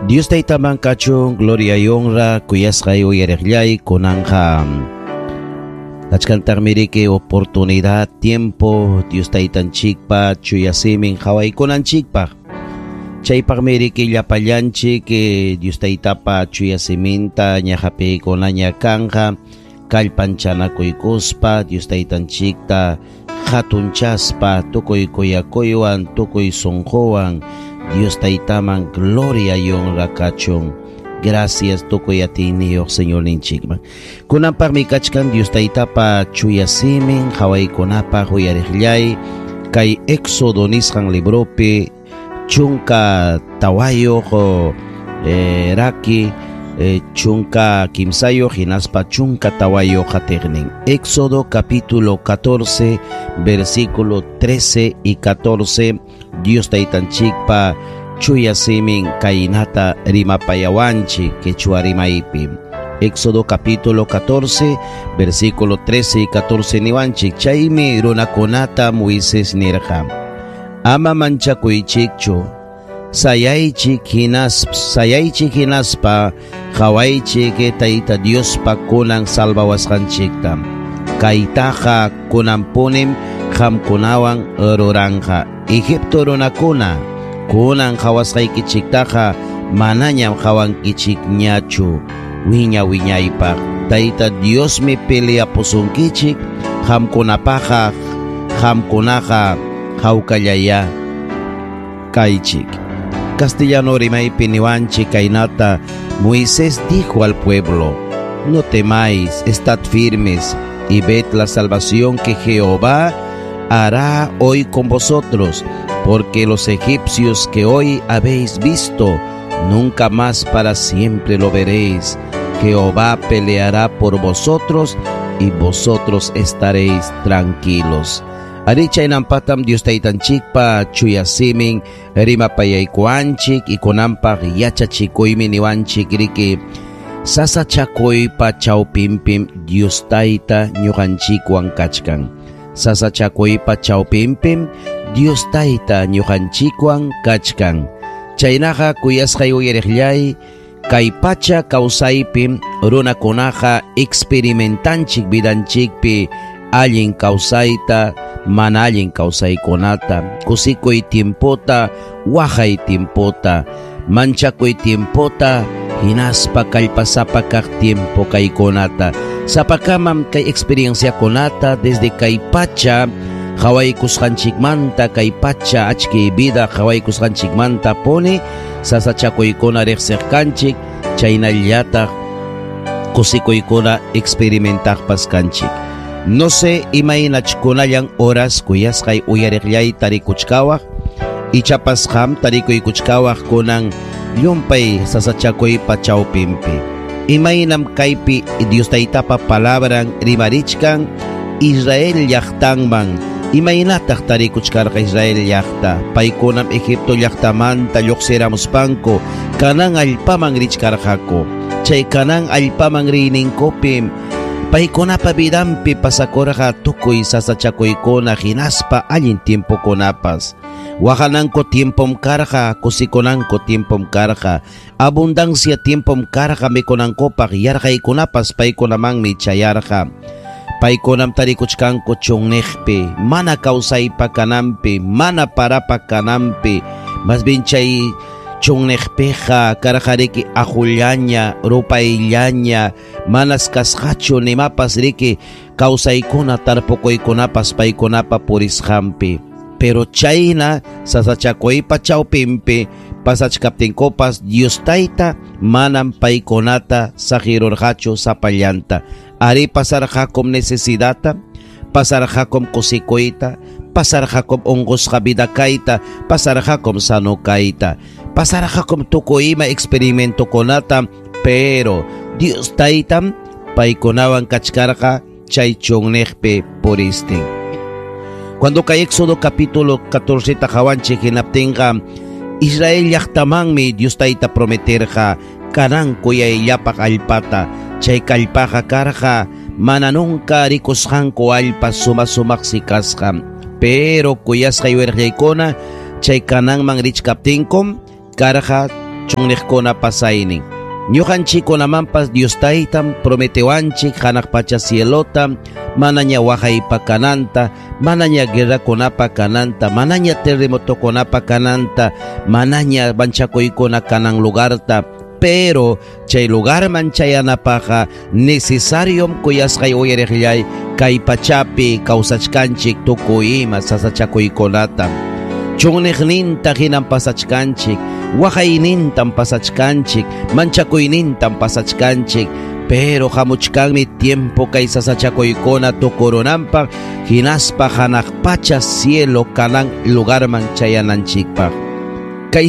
Dios Taytaman kachun gloria y honra kuyasqay uyariqllay kunanqa kachkantaqmi riki oportunidad tiempo Dios Taytanchikpa chuya simin qhawaykunanchikpaq. Chaypaqmi riki llapallanchik Dios Taytapa chuya siminta ñaqapiykunaña kanqa kallpanchanakuykuspa Dios Taytanchikta hatunchaspa tukuy kuyakuywan tukuy sunquwan Dios Taytaman gloria y honra kachun. Gracias tukuy atiyniyuq Señorninchikman. Kunanpaqmi kachkan Dios Taytapa chuya simin qhawaykunapaq uyariqllay kay Éxodo nisqan libropi 14 raki 13 hinaspa 14 qatiqnin. Éxodo capítulo 14 versículo 13 y 14. Dios Taytanchikpa chuya simin kaynata rimapayawanchik quechua rimaypi. Éxodo capítulo 14 versículo 13 y 14 niwanchik. Chaymi runakunata Moisés nirqa: Ama manchakuychikchu, sayaychik hinaspa qhawaychik Tayta Diospa kunan salvawasqanchikta. Kaytaqa kunanpunim qamkunawan ruranqa. Egipto runakuna kunan qhawasqaykichiktaqa manañam qhawankichikñachu wiña wiñaypaq. Tayta Diosmi peleapusunkichik qamkunapaqa qamkunaqa hawkallaya kaychik. Castellano rimaypi niwanchik kaynata Moisés dijo al pueblo: No temáis, estad firmes y ved la salvación que Jehová hará hoy con vosotros, porque los egipcios que hoy habéis visto, nunca más para siempre lo veréis. Jehová peleará por vosotros y vosotros estaréis tranquilos. Ari chaynampatam Dios Taytanchikpa chuya simin rimapayaykuanchik y kunanpaq yachachikuymi niwanchik riki sasachakuypa chawpinpim Dios Tayta ñuqanchikwan kachkan. Sasachakuypa chawpinpim Dios Tayta ñuqanchikwan kachkan. Chaynaqa kuyasqay uyariqllay kay pacha kawsaypim runakunaqa experimentanchik vidanchikpi allin kawsayta mana allin kawsaykunata, kusikuy tiempota, waqay tiempota, manchakuy tiempota, hinaspa kallpasapa kaq tiempo kaykunata. Sapakamam kay experienciakunata desde kay pacha qhawaykusqanchikmanta kay pacha achki vida qhawaykusqanchikmanta puni sasachakuykuna riqsiq kanchik, chaynallataq kusikuykuna experimentaqpas kanchik. No sé imaynachkunallan horas kuyasqay uyariqllay tarikuchkawaq, ichapas qam tarikuykuchkawaq kunan llumpay sasachakuypa chawpinpi. Imaynam kaypi Dios Taytapa palabran rimarichkan Israel llaqtanman. Imaynataq tarikuchkarqa Israel llaqta? Paykunam Egipto llaqtamanta lluqsiramuspanku Canaán allpaman richkarqaku. Chay Canaán allpaman riyninkupim paykunapa vidanpi pasakurqa tukuy sasachakuykuna hinaspa allin tiempokunapas. Waqananku tiempom karqa, kusikunanku tiempom karqa, abundancia tiempom karqa mikunankupaq yarqaykunapas paykunamanmi chayarqa. Paykunam tarikuchkanku chunniqpi, mana kawsaypa kananpi, mana parapa kananpi, mas bien chay chunniqpiqa karqa riki aqullaña, rupayllaña, manas kasqachu nimapas riki kawsaykuna tarpukuykunapas paykunapa purisqanpi. Pero chayna sasachakuypa chawpinpi pasachkaptinkupas Dios Tayta manam paykunata saqirurqachu sapallanta. Ari pasarqakum necesidata, pasarqakum kusikuyta, pasarqakum unqusqa vida kayta, pasarqakum sano kayta, pasarqakum tukuy ima experimentokunata, pero Dios Taytam paykunawan kachkarqa chay chunniqpi puristin. Cuando kay Éxodo capítulo 14 qhawanchik hinaptinqa Israel llaqtamanmi Dios Tayta prometerqa Canaán kuyayllapaq allpata. Chay kallpaqa karqa mana nunca rikusqanku allpa suma sumaqsi kasqa. Pero kuyasqay wirqaykuna chay Canaanman richkaptinkum karqa Chunniqkuna pasaynin. Ñuqanchikkunamanpas Dios Taytam prometewanchik hanaq pacha cielota, manaña waqaypa kananta, manaña guerrakunapa kananta, manaña terremotokunapa kananta, manaña manchakuykuna kanan lugarta. Pero chay lugarman chayanapaqqa necesariom kuyasqay uyariqllay kay pachapi kawsachkanchik tukuy ima sasachakuykunata. Chunniqninta hinam pasachkanchik, waqaynintam pasachkanchik, manchakuynintam pasachkanchik, pero hamuchkanmi tiempo kay sasachakuykuna tukurunanpaq hinaspa hanaq pacha cielo kanan lugarman chayananchikpaq.